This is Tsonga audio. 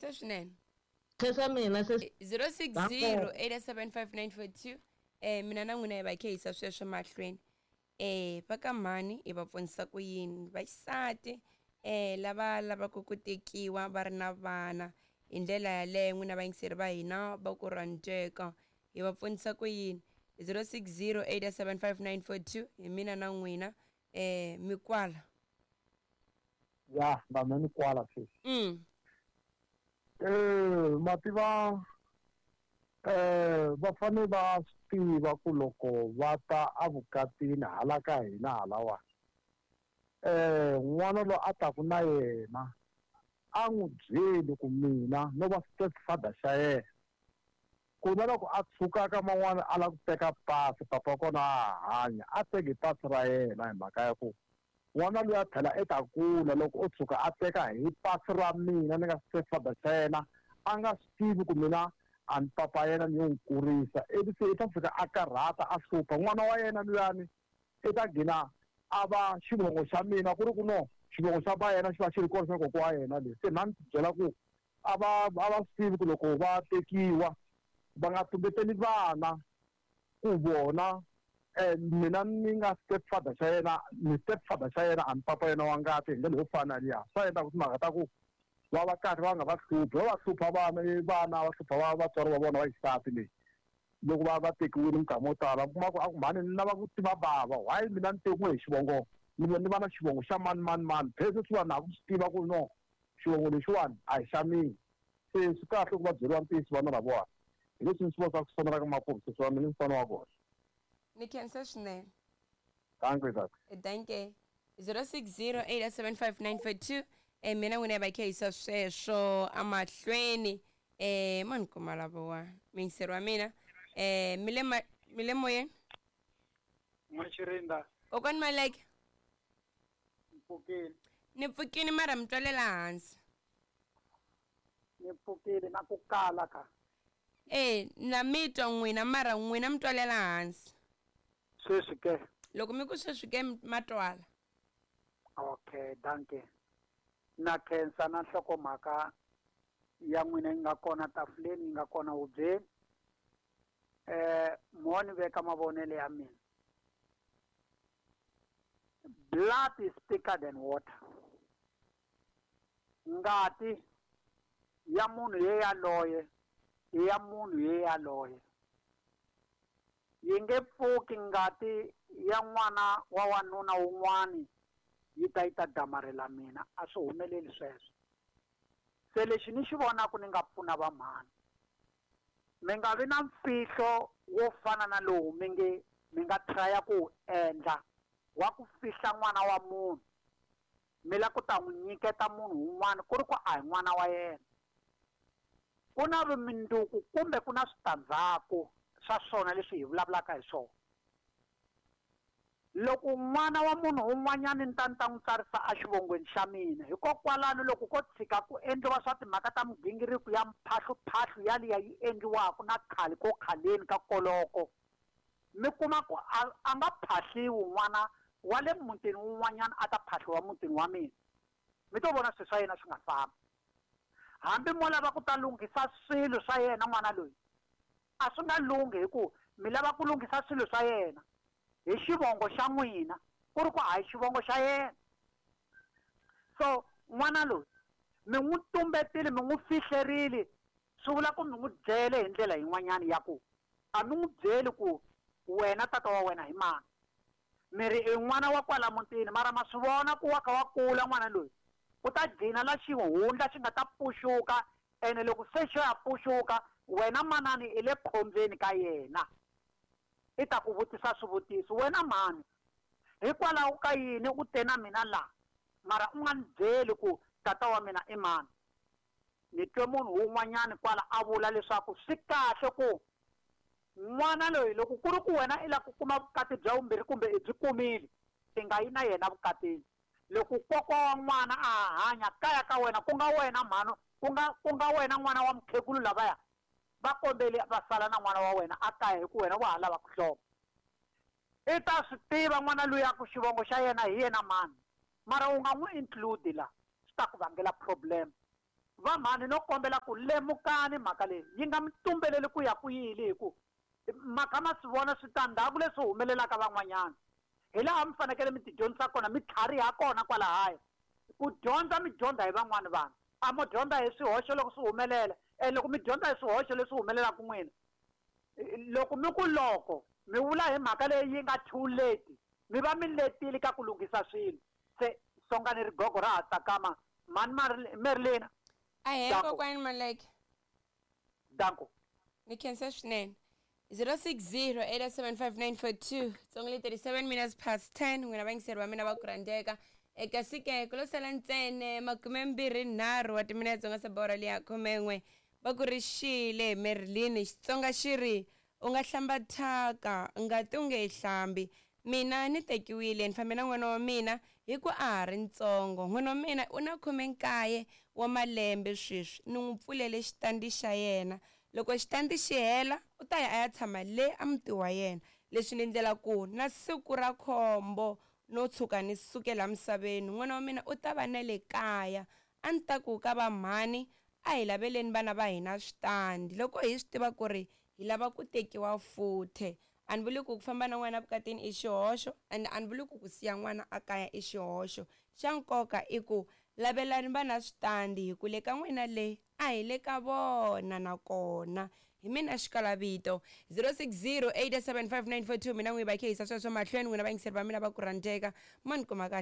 khensa swinene. Khensa mina sesi. 060 875 mina na n'wina hi va khe hisa sweswo mahlweni. Va ka mhani hi va pfunisa ku yini vaxisati lava lavaka ku tekiwa va ri na vana hi ndlela yaleyo n'wina vayingiseri va hina va ku rhandzeka hi va pfunisa ku yini? 060 875 hi mina na n'wina. Mikwala. Ya na mina ni kwala sweswi. Mativa va fanele va swi tiva ku loko va ta evukatini hala ka hina halawani n'wana loyi a taku na yena a n'wi byeli ku mina no va stepfather xa yena, ku na loko a tshuka ka man'wana a lava ku teka pasi, papa wa kona a hanya, a teki pasi ra yena hi mhaka ya ku n'wana loyi a tlhela i ta kula loko o tshuka a teka hi pasi ra mina ni nga stepfather xa yena, a nga swi tivi ku mina a ni papa yena ni yo n'wi kurisa, ivi se i ta fika a karhata a hlupha n'wana wa yena luyani, i ta gcina a va xivongo xa mina ku ri ku no xivongo xa ba yena xi va xi ri kona xa kokwa wa yena le. Se na ni byela ku a va swi tivi ku loko va tekiwa va nga tumbeteli vana ku vona mina ni nga stepfather xa yena, ni stepfather xa yena a ni papa yena wa ngati hi ndlela yo fana liya. Swa endla ku timhaka ta ku va va karhi va nga va hluphi, va va hlupha vana vana va hlupha va vatswari va vona va xisati leyi loko va va tekiwile minkarhi mo tala u kuma ku a ku mhani ni lava ku tiva bava, why mina ni tekiwe hi xivongo ni va na xivongo xa mani mani mani, phela sweswiwani na ha ku swi tiva ku no xivongo lexiwani a hi xa mina. Se swi kahle ku va byeriwa ntiyiso vana lavawani, hi leswi ni swi vonaka ku sonelaka makumu sweswiwani mina ni mfana wa kona. Ni khensa swinene. Dankie tata. Dankie. 060 875 mina n'wina hi va khe hisa sweswo amahlweni. Mani kuma lavawa muyingiseri wa mina. Mi le moyeni? N'waxirinda. Kokwani Maleke. Mpfukile. Ni pfukile mara mi twalela hansi. Ni pfukile na ku kala ka. Na mi twa n'wina mara n'wina mi twalela hansi. Sweswi ke. Loko mi ku sweswi ke ma twala. Okay, dankie. Na khensa na nhlokomhaka ya n'wina yi nga kona tafuleni, yi nga kona hubyeni. Mo ni veka mavonelo ya mina. Blood is thicker than water. Ngati ya munhu ye yaloye i ya munhu ye yaloye. Yi nge pfuki ngati ya n'wana wa wanuna wun'wani yi ta yi ta damarhela mina, a swi humeleli sweswo. Se lexi ni xi vonaka ni nga pfuna va mhani, mi nga vi na mfihlo wo fana na lowu mi nge mi nga traya ku wu endla wa ku fihla n'wana wa munhu, mi la ku ta n'wi nyiketa munhu wun'wana ku ri ku a hi n'wana wa yena. Ku na vumundzuku kumbe ku na switandzhaku swa swona leswi hi vulavulaka hi swona. Loko n'wana wa munhu un'wanyana ni ta ni ta n'wi tsarisa exivongweni xa mina, hikokwalano loko ko tshika ku endliwa swa timhaka ta migingiriko ya mphahluphahlу yaliya yi endliwaka na khale ko khaleni ka koloko, mi kuma ku a nga phahliwi n'wana wa le mutini wun'wanyana a ta phahliwa mutini wa mina, mi to vona swilo swa yena swi nga fambi. Hambi mo lava ku ta lunghisa swilo swa yena n'wana loyi, a swi nga lunghi hi ku mi lava ku lunghisa swilo swa yena hi xivongo xa n'wina, ku ri ku a hi xivongo xa yena. So n'wana loyi mi n'wi tumbetile, mi n'wi fihlerile, swi vula ku mi n'wi byele hi ndlela yin'wanyana ya ku a mi n'wi byeli ku wena tata wa wena hi mani, mi ri i n'wana wa kwala mutini, mara ma swi vona ku wa kha wa kula n'wana loyi, u ta gcina la xihundla xi nga ta pfuxuka, ene loko se xo ya pfuxuka wena manani i le khombyeni ka yena, i ta ku vutisa swivutiso, wena mhani hikwalaho ka yini u te na mina la mara u nga ni byeli ku tata wa mina i mani? Ni twe munhu wun'wanyani kwala a vula leswaku swi kahle ku n'wana loyi loko ku ri ku wena i lava ku kuma vukati bya vumbirhi kumbe i byi kumile, i nga yi na yena vukatini. Loko kokwa wa n'wana a ha hanya kaya ka wena, ku nga wena mhani, ku nga wena n'wana wa mukhegulu lavaya, va kombeli va sala na n'wana wa wena a kaya hi ku wena wa ha lava ku hloma. I ta swi tiva n'wana luya ku xivongo xa yena hi yena mani, mara u nga n'wi include la, swi ta ku vangela problem. Vamhani no kombela ku lemukani mhaka leyi yi nga mi tumbeleli ku ya ku yini, hi ku mhaka ma swi vona switandzhaku leswi humelelaka van'wanyana. Hi laha mi fanekele mi ti dyondzisa kona, mi tlhariha kona kwalahaya. Ku dyondza mi dyondza hi van'wani vanhu, a mo dyondza hi swihoxo loko swi humelela. Ene loko mi dyondza hi swihoxo leswi humelelaka n'wina, loko mi ku loko mi vula hi mhaka leyi yi nga too late, mi va mi letile ka ku lunghisa swilo. Se songani rigogo ra ha tsakama. Mhani Merlina. Ahee. Danko. Kokwani Maleke. Danko. Ni khensa swinene. 060 875 tsongo le 37 minutes past 10. N'wina vayingiseri va mina va ku rhandzeka, kasi ke ku lo sala ntsene 23 wa timinetse u nga se bora liya 11. Va ku ri xile Merlin, Xitsonga xi ri u nga hlamba thyaka ngati u nge yi hlambi. Mina ni tekiwile, ni fambe na n'wana wa mina hi ku a ha ri ntsongo. N'wana wa mina u na 19 wa malembe sweswi, ni n'wi pfulele xitandi xa yena. Loko xitandi xi hela u ta ya a ya tshama le a muti wa yena. Leswi ni ndlela ku na siku ra khombo no tshuka ni sukela misaveni, n'wana wa mina u ta va na le kaya. A ni ta ku ka va mhani, a hi laveleni vana va hina switandi loko hi swi tiva ku ri hi lava ku tekiwa futhe. A ni vuli ku ku famba na n'wana vukatini i xihoxo, and a ni vuli ku ku siya n'wana a kaya i xihoxo. Xa nkoka i ku lavelani vana switandi, hi ku le ka n'wina le a hi le ka vona. Nakona hi mina xikalavito 060 875 942. Mina n'wi va khe hisa sweswo mahlweni. N'wina vayingiseri va mina va ku rhandzeka, ma ni kuma kahle.